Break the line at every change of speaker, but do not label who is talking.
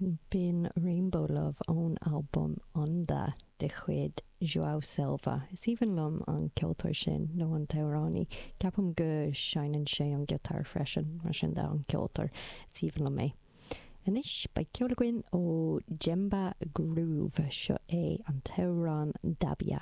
B'in Rainbow Love ón albam Onda de chuid João Silva. Is aoibhinn liom an ceoltóir sin, nó an t-amhránaí. Ceapaim go seinneann sé an giotár freisin, mar sin de, an ceoltóir. Is aoibhinn liom é. Anois, beidh ceol againn ó Djemba Groove. Seo é an t-amhrán Dabia.